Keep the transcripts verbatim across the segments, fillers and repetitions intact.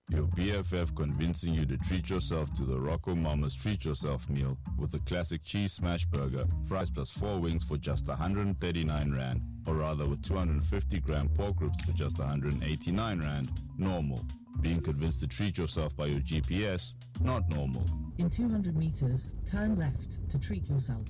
Your B F F convincing you to treat yourself to the Rocco Mama's Treat Yourself meal with a classic cheese smash burger, fries plus four wings for just a hundred and thirty-nine rand, or rather with two hundred and fifty gram pork ribs for just a hundred and eighty-nine rand, normal. Being convinced to treat yourself by your G P S, not normal. In two hundred meters, turn left to treat yourself.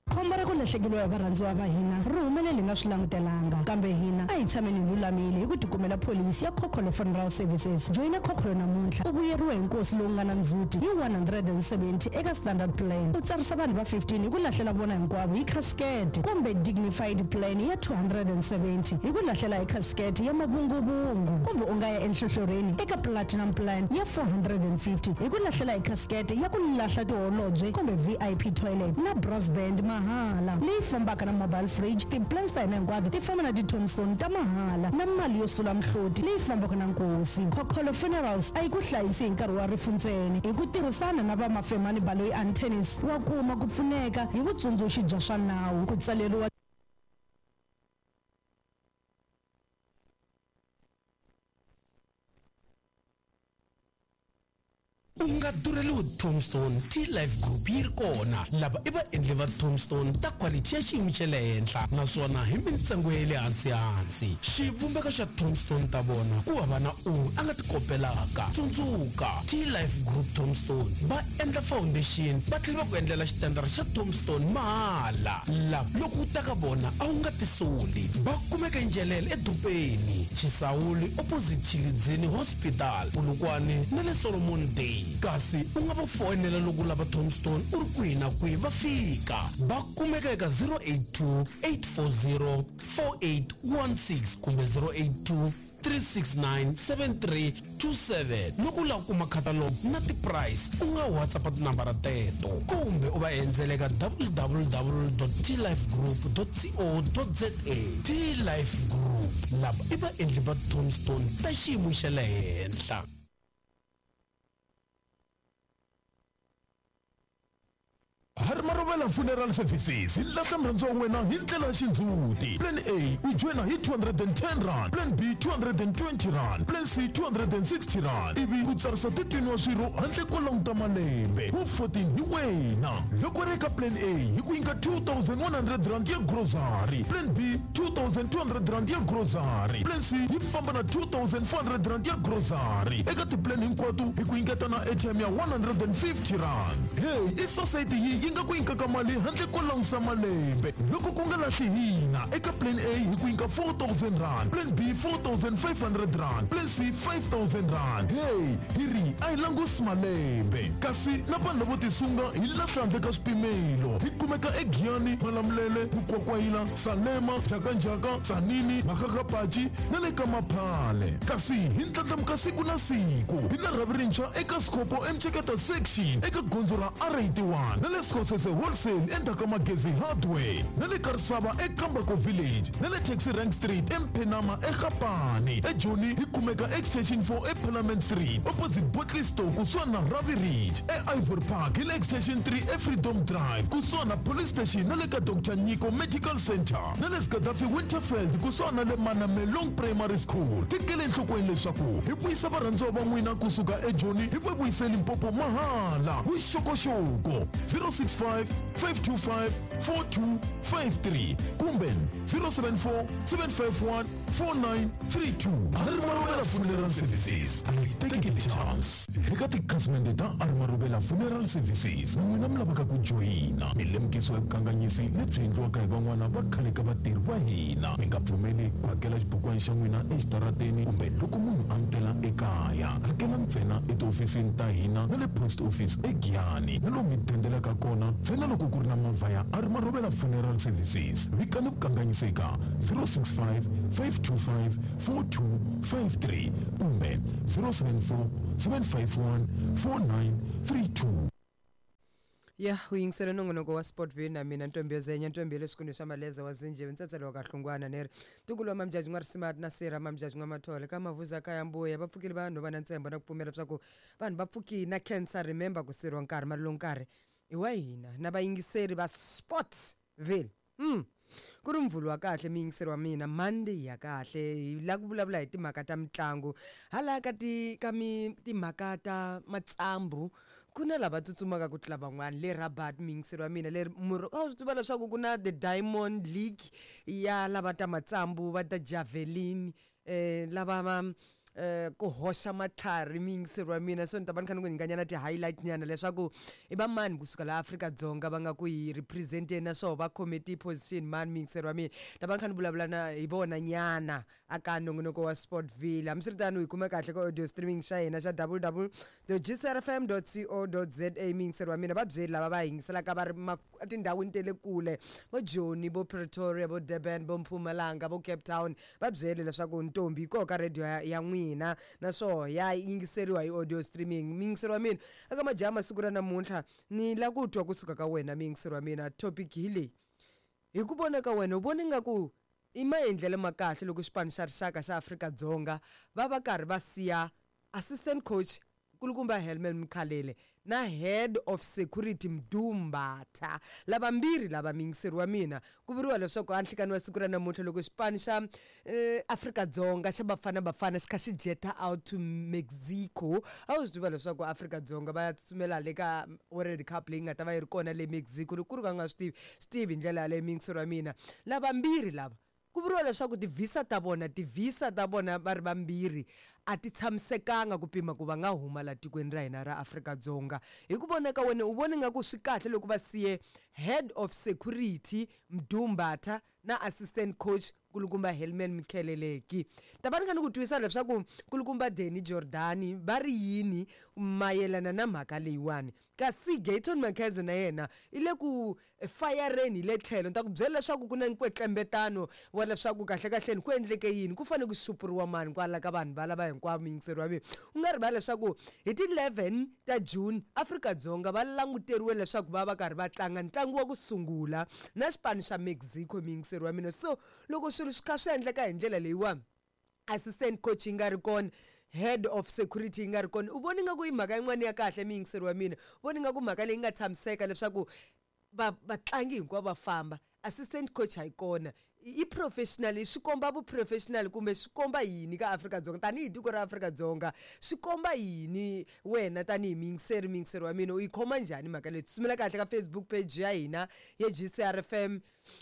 Khombo ra ku lahlekeriwa hi varhandziwa va hina ri humelele hi nga swi langutelanga, kambe hina a hi tshameni hi lulamile hi ku tikumela pholisi ya Khokholo Funeral Services. Joyina Khokholo namuntlha u vuyeriwe hi nkosi lowu nga na ndzhuti hi one hundred and seventy eka standard plan, u tsarisa vanhu va fifteen hi ku lahlela vona hinkwavo hi casket, kumbe dignified plan ya two hundred and seventy hi ku lahlela hi casket ya mavunguvungu, kumbe u nga ya enhlohlorhini eka platinum plan ya four hundred and fifty hi ku lahlela hi casket ya ku lahla tiholobye kumbe V I P toilet na brass band mahala leyi fambaka na mobile fridge. Ti-plans ta hina hinkwato ti famba na ti-tombstone ta mahala na mali yo sula mihloti leyi fambaka na nkosi. Khokholo Funerals a yi ku hlayisi hi nkarhi wa rifu ntsena, hi ku tirhisana na va Mafemani Baloyi Antennis wa kuma ku pfuneka hi vutsundzuxi bya swa nawu, ku tsaleriwa U nga durheliwi Tombstone. T-Life Group yi ri kona. Lava i vaendli va Tombstone ta quality ya xiyimo xa le henhla naswona hi mintsengo ya le hansi hansi. Xivumbeko xa Tombstone ta vona ku hava na un'we a nga ti kopelaka. Tsundzuka, T-Life Group Tombstone va endla foundation va tlhela va ku endlela xitandara xa Tombstone mahala. Lava loko u ta ka vona a wu nga tisoli. Va kumeka eNjelele edorobeni, Chisawuli opposite Tshilidzini Hospital, Polokwane na le Solomon Day. Kasi u nga va foyinela loko u lava Tombstone u ri kwihi na kwihi va fika. Va kumeka eka zero eight two, eight four zero, four eight one six kumbe zero eight two, three six nine, seven three two seven. Loko u lava ku kuma catalog na ti-price, u nga WhatsApp tinambara teto kumbe u va endzela eka w w w dot t life group dot co dot z a. T-Life Group, lava i vaendli va Tombstone ta xiyimo xa le henhla. Marobela Funeral Services hi lahla murhandziwa wa wena hi ndlela ya xindzhuti. Plan A u joyina hi two hundred and ten rand, Plan B two hundred and twenty rand, Plan C two hundred and sixty rand, ivi u tsarisa thirteen wa swirho handle ko languta malembe. Wu fourteen hi wena. Loko ri eka Plan A hi ku nyika two thousand one hundred rand ya grocery, Plan B two thousand two hundred rand ya grocery, Plan C yi famba na two thousand four hundred rand ya grocery. Eka ti-plan hinkwato hi ku nyiketa na airtime ya one hundred and fifty rand. Hey, i society yi yi nga ku nyikaka mali handle ko langusa malembe. Loko ku nga lahli hina, eka Plan A hi ku nyika four thousand rand, Plan B four thousand five hundred rand, Plan C five thousand rand. Hey, hi ri a hi langusi malembe. Kasi na vanhu lavo tisunga hi lahla handle ka swipimelo. Hi kumeka eGiyani, Malamulele, Mukwakwayila, Salema, Njhakanjhaka, Tzaneen, Makgakgapachi na le ka Maphale. Kasi hi ndlandlamuka siku na siku. Hi na rhavi rintshwa eka Sikopo eMtsheketa section eka gondzo ra R eighty-one na le Sekgosese Wholesale endzhaku ka Magezi Hardware na le Karisava eKambako Village na le Taxi Rank Street eMphenama eGapane. eJoni hi kumeka Extension four eParliament Street opposite Botley Store kusuhani na Ravi Ridge. E-Ivory Park hi le Extension three eFreedom Drive kusuhani na Police Station na le ka Doctor Nyiko Medical Center na le Gaddafi Winterfeld kusuhani na le Manamelong Primary School. Tekela enhlokweni leswaku hi vuyisa varhandziwa va n'wina kusuka eJoni hi va vuyise Limpopo mahala. Vuxokoxoko zero six five, five two five, four two five three kumbe zero seven four, seven five one, four nine three two. Marobela Funeral Services, a yi teki chance. Eka tikhasimende ta Marobela Funeral Services, n'wina mi lavaka ku joyina milemukiso ya vukanganyisi lebyi endliwaka hi van'wana va khale ka vatirhi va hina. Mi nga pfumeli ku hakela xibukwana xa n'wina exitarateni kumbe loko munhu a mi tela ekaya. Hakela ntsena etihofisini ta hina na le post office eGiyani na lomu mi dendelaka kona ntsena loko ku ri na movha ya Marobela Funeral Services. Vikani vukanganyisi eka zero six five, five two five, four two five three kumbe zero seven four, seven five one, four nine three two. Ya, u yingisele nongonoko wa Sportville na mina Ntombi Yozenya, Ntombi ya le xikundu xa Maleza wa Zinjeve, ntsetselo wa Kahlungwana neri. Ntukulu wa Mamjaji n'wa Risimati na Sera Mamjaji n'wa Mathole ka Mavuza ka ya Mbuya va pfukile vanhu va na ntshembo na ku pfumela leswaku vanhu va pfukile na cancer, remember ku sirhiwa nkarhi mali lowu nkarhi i wa hina na vayingiseri va Sportville. Mm. Ku ri mvhulu wa kahle miyingiseri wa mina, Monday ya kahle, hi la ku vulavula hi timhaka ta mitlangu. Hala ka ti ka mi timhaka ta matsambu ku na lava tsutsumaka ku tlula van'wani le Rabat, miyingiseri wa mina, leri murhu a wu swi tiva leswaku ku na the Diamond League ya lava ta matsambu va ta javelin, eh lava va eh ku hoxa matlhari, miyingiseri wa mina. So ni ta va ni kha ni ku nyikanyana ti-highlight nyana leswaku i va mani kusuka laha Afrika-Dzonga va nga ku hi represent-eni, naswona va khome ti-position mani, miyingiseri wa mina. Ta va ni kha ni vulavula na hi vona nyana aka nongonoko wa Sportville. Hambiswiritano hi kume kahle ka audio streaming xa hina xa w w dot g c r f m dot co dot za, miyingiseri wa mina. Va byeli lava va yingiselaka va ri etindhawini ta le kule, vo Joni, vo Pretoria, vo Durban, vo Mpumalanga, vo Cape Town, va byeli leswaku ntombi yi koho ka radio ya, ya n'wina, naswona ya yingiseriwa hi audio streaming, miyingiseri wa mina. Eka majaha masiku ra namuntlha ni la ku twa kusuka ka wena, miyingiseri wa mina. Topic hi leyi: hi ku vona ka wena, u vona ingaku i maendlelo ma kahle loko xipano xa rixaka xa Afrika-Dzonga va va karhi va siya assistant coach nkulukumba Helman Mkhalele na head of security Mdumbatha, lavambirhi lava, miyingiseri wa mina, ku vuriwa leswaku a nhlikani wa siku ra namuntlha loko xipano xa eh, Afrika-Dzonga xa Bafana Bafana xi kha xi jeta out to Mexico? A wu swi tiva leswaku Afrika-Dzonga va ya tsutsumela le ka World Cup leyi nga ta va yi ri kona le Mexico? Loko ku ri ka nga swi tivi, swi tivi hi ndlela yaleyo, miyingiseri wa mina. Lavambirhi lava ku vuriwa leswaku ti-visa ta vona ti-visa ta vona va ri vambirhi a ti tshamisekanga ku pima ku va nga huma la tikweni ra hina ra Afrika-Dzonga. Hi ku vona ka wena, u vona nga ku swi kahle loko va siye head of security Mdumbatha na assistant coach nkulukumba Helman Mkhalele? Ta va ni kha ni ku twisa leswaku nkulukumba Danny Jordaan va ri yini mayelana na mhaka leyiwani, kasi Gayton McKenzie na yena i le ku fayareni hi le tlhelo. Ni ta ku byela leswaku ku na nkwetlembetano wa leswaku kahlekahleni ku endleke yini, ku fanele ku xupuriwa mani kwala ka vanhu valava hinkwavo, muyingiseri wa mina. U nga rivali leswaku hi ti eleven ta June Afrika-Dzonga va languteriwe leswaku va va karhi va tlanga ntlangu wa ku sungula na xipano xa Mexico, muyingiseri wa mina. So loko swilo swi kha swi endleka hi ndlela leyiwani, assistant coach yi nga ri kona, head of security yi nga ri kona, u voni nga ku i mhaka yin'wana ya kahle, muyingiseri wa mina? U voni nga ku mhaka leyi nga tshamiseka leswaku va vatlangi hinkwavo va famba, assistant coach a yi kona, i professional, swi komba vuprofessional kumbe swi komba yini ka Afrika-Dzonga tanihi tiko ra Afrika-Dzonga? Swi komba yini? Wena tanihi muyingiseri, muyingiseri wa mina, u yi khoma njhani mhaka leyi? Tsutsumela kahle ka Facebook page ya hina ya G C R F M,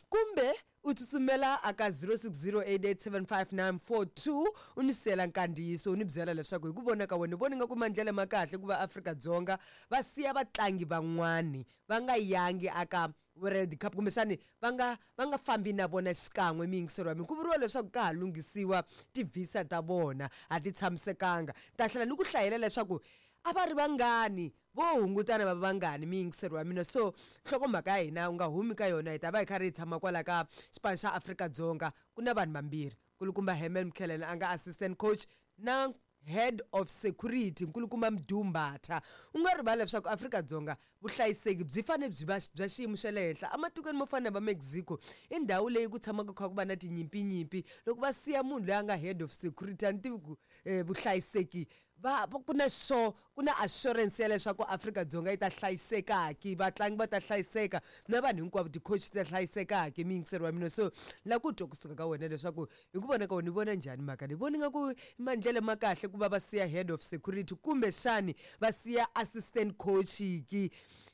kumbe u tsutsumela aka zero six zero eight eight seven five nine four two, u ni siyela nkandziyiso, u ni byela leswaku hi ku vona ka wena u vona nga ku maendlelo ma kahle ku va Afrika-Dzonga va siya vatlangi van'wani va nga yangi aka World Cup, kumbexani va nga va nga fambi na vona xikan'we, miyingiseri wa mina. Ku vuriwa leswaku ka ha lunghisiwa ti-visa ta vona, a ti tshamisekanga. Ta tlhela ni ku hlayela leswaku a va ri vangani vo hungutana va vangani, miyingiseri wa mina. So nhlokomhaka ya hina, u nga humi ka yona, hi ta va hi karhi hi tshama kwala ka xipano xa Afrika-Dzonga. Ku na vanhu vambirhi, nkulukumba Helman Mkhalele a nga assistant coach na head of security nkulukumba Mdumbatha. U nga rivali leswaku Afrika-Dzonga vuhlayiseki byi fanele byi va bya xiyimo xa le henhla ematikweni mo fana na va Mexico, i ndhawu leyi ku tshamaka kha ku va na tinyimpinyipi. Loko va siya munhu loyi a nga head of security, a ni tivi ku um vuhlayiseki va ku na sure, ku na assurance ya leswaku Afrika-Dzonga yi ta hlayisekaki, vatlangi va ta hlayiseka na vanhu hinkwavo, ti-coach ti ta hlayisekaki, miyingiseri wa mina. So la ku twa kusuka ka wena leswaku hi ku vona ka wena u vona njhani mhaka leyi. Voni nga ku i maendlelo ma kahle ku va va siya head of security kumbexani va siya assistant coach ki?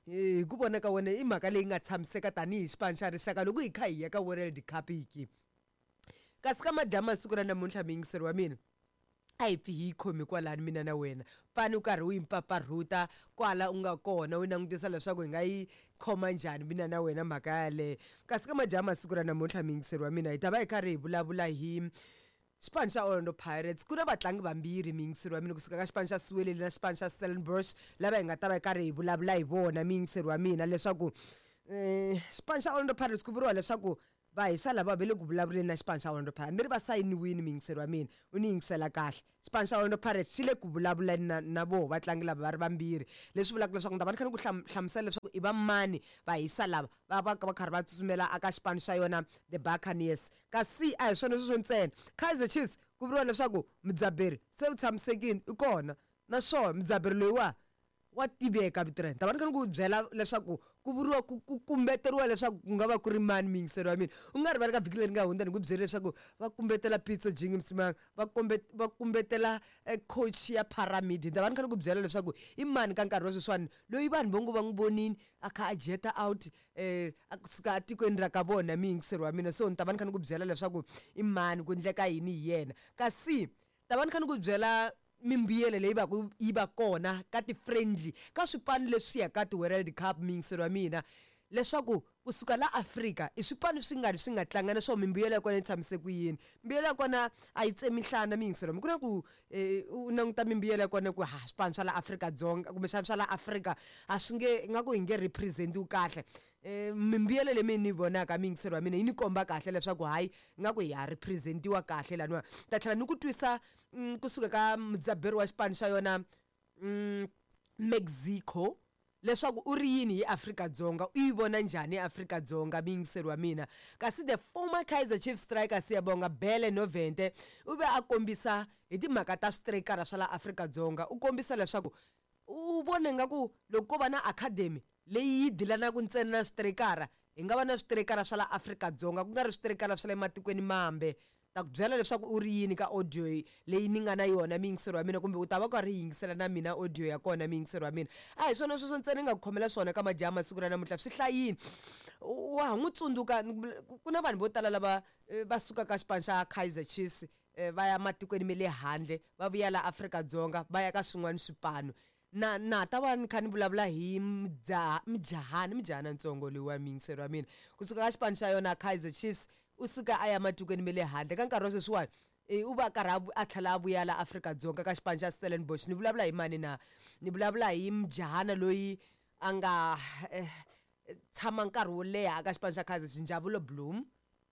Hi ku vona ka wena, i mhaka leyi nga tshamiseka tanihi xipano xa rixaka loko hi kha hi ya ka World Cup ki? Kasi ka madyama siku ra namuntlha, muyingiseri wa mina, a hi pfi hi yi khomi kwalani mina na wena, pfani u karhi u yi mpfapfarhuta kwala u nga kona, u langutisa leswaku hi nga yi khoma njhani mina na wena mhaka yaleyo. Kasi ka madyama siku ra namuntlha, muyingiseri wa mina, hi ta va hi karhi hi vulavula hi xipano xa Orlando Pirates. Ku na vatlangi vambirhi, muyingiseri wa mina, kusuka ka xipano xa Siwelele na xipano xa Stellenbosch, lava hi nga ta va hi karhi hi vulavula hi vona, muyingiseri wa mina, leswaku um xipano xa Orlando Pirates, ku vuriwa leswaku va hisa lava va le ku vulavuleni na xipano xa Orlando Pirates. Ni ri va sayiniwini, muyingiseri wa mina, u ni yingisela kahle. Xipano xa Orlando Pirates xi le ku vulavuleni na, na voho vatlangi lava va ri vambirhi, leswi vulaka leswaku ni ta va ni kha ni ku hlamusela leswaku i va mani va hisa lava va va va karhi va tsutsumela aka xipano xa yona the Buccaneers. Kasi a hi swona sweswo ntsena, Kaizer Chiefs ku vuriwa leswaku mudzaberi se u tshamisekile, i kona, naswona mudzaberi loyiwa wa tiveka vito ra yena. Ta va ni kha ni ku byela leswaku ku vuriwa ku ku kumbeteriwa leswaku ku nga va ku ri mani miyingiselo wa mina. U nga rivali ka vhiki leri nga hundza ni ku byele leswaku va kumbetela Pitso Jingi Msimang, va kombe va kumbetela eh, coach ya Pyramid. Ni ta va ni kha ni ku byela leswaku i mani ka nkarhi wa sweswiwani loyi vanhu vo ngo va n'wi vonini a kha a jeta out eh a kusuka atikweni ra ka vona miyingiselo wa mina. So ni ta va ni kha ni ku byela leswaku i mani, ku endleka yini hi yena. Kasi ta va ni kha ni ku byela mimbuyelo leyi va ku yi va kona ka ti-friendly ka swipano leswi ya ka ti-World Cup miyingiselo wa mina, leswaku kusuka la Afrika i swipano swi nga ri swi nga tlanga naswona mimbuyelo ya kona yi tshamise ku yini. Mimbuyelo ya kona a yi tsemi nhlana miyingiselo wa mina. Ku na ku eh, u languta mimbuyelo ya kona ku ha swipano swa la Afrika-Dzonga kumbexana swa la Afrika a swi nge ingaku hi nge represent-iwi kahle. Eh, mimbuyelo leyi ni yi vonaka miyingiselo wa mina yi ni komba kahle leswaku hayi ingaku hi ha represent-iwa kahle laniwa. Ta tlhela ni ku twisa mm, kusuka ka mudzaberi wa xipano xa yona mm, Mexico leswaku u ri yini hi Afrika-Dzonga, u yi vona njhani Afrika-Dzonga miyingiselo wa mina. Kasi the former Kaizer Chiefs striker Siyabonga Bele Novente u ve a kombisa hi timhaka ta switirayikara swa la Afrika-Dzonga, u kombisa leswaku u vone nga ku loko ko va na academy leyi yi dilanaka ntsena na switirayikara, hi nga va na switirayikara swa la Afrika-Dzonga ku nga ri switirayikara swa le matikweni mambe. Ta ku byela leswaku u ri yini ka audio leyi ni nga na yona miyingiselo wa mina, kumbe u ta va karhi yingisela na mina audio ya kona miyingiselo wa mina. A hi swona sweswo ntsena ni nga ku khomela swona ka majaha masiku ra namuntlha, swi hlayini. Wa ha n'wi tsundzuka ku na vanhu vo tala lava eh, va sukaka xipano xa Kaizer Chiefs eh, va ya matikweni ma le handle va vuya la Afrika-Dzonga va ya ka swin'wana swipano. Na na ta va ni kha ni vulavula hi mudzaha mujahani mujahana ntsongo loyi wa miyingiselo wa mina kusuka ka xipano xa yona Kaizer Chiefs, u suka a ya matikweni ma le handle. Ka nkarhi wa sweswiwani eh, u va a karhi a vu- a tlhela a vuya la Afrika-Dzonga ka xipano xa Stellenbosch. Ni vulavula hi mani na? Ni vulavula hi mujahana loyi a nga eh, tshama nkarhi wo leha ka xipano xa Kaizer Chiefs, Njabulo Blom.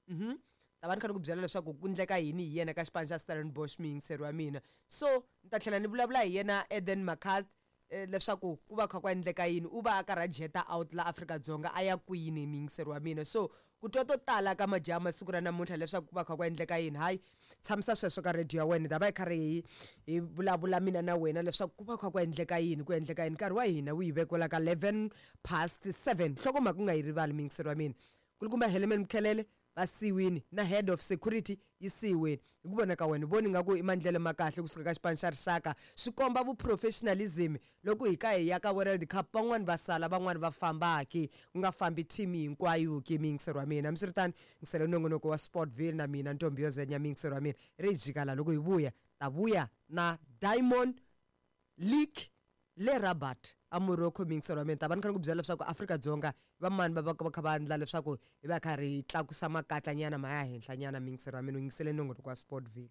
Mhm. Ta va ni kha ni ku byela leswaku ku endleka yini hi yena ka xipano xa Stellenbosch miyingiselo wa mina. So ni ta tlhela ni vulavula hi yena Eden McCarthy eh, leswaku ku va kha ku endleka yini, u va a karhi a jeta out la Afrika-Dzonga a ya kwini miyingiselo wa mina. So ku twa to tala ka majaha masiku ra namuntlha leswaku ku va kha ku endleka yini, hayi tshamisa sweswo ka radio ya wena, hi ta va hi karhi hi hi vulavula mina na wena leswaku ku va kha ku endleka yini, ku endleka yini. Nkarhi wa hina wu hi vekela ka eleven past seven. Nhlokomhaka u nga yi rivali miyingiselo wa mina, kulukumba Heleman Mkhelele va siwini na head of security yi siwini. Hi ku vona ka wena voni nga ku i mandlelo ma kahle kusuka ka xipano xa rixaka, swi komba vuprofessionalism loko hi ka hi ya ka World Cup van'wani va sala van'wani va fambaki, ku nga fambi team hinkwayo ke miyingiselo wa mina. Hambiswiritano yingisela nongonoko wa Sportville na mina Ntombi yo Zenya miyingiselo wa mina ri hi jika la loko hi vuya ta vuya na Diamond League le Rabat a Morocco miyingiselo wa mina. Ta va ni kha ni ku byela leswaku Afrika-Dzonga va mani va va va kha va endla leswaku hi va karhi hi tlakusa makatlanyana ma ya henhlanyana miyingiselo wa mina. U yingisele nongonoko wa Sportville.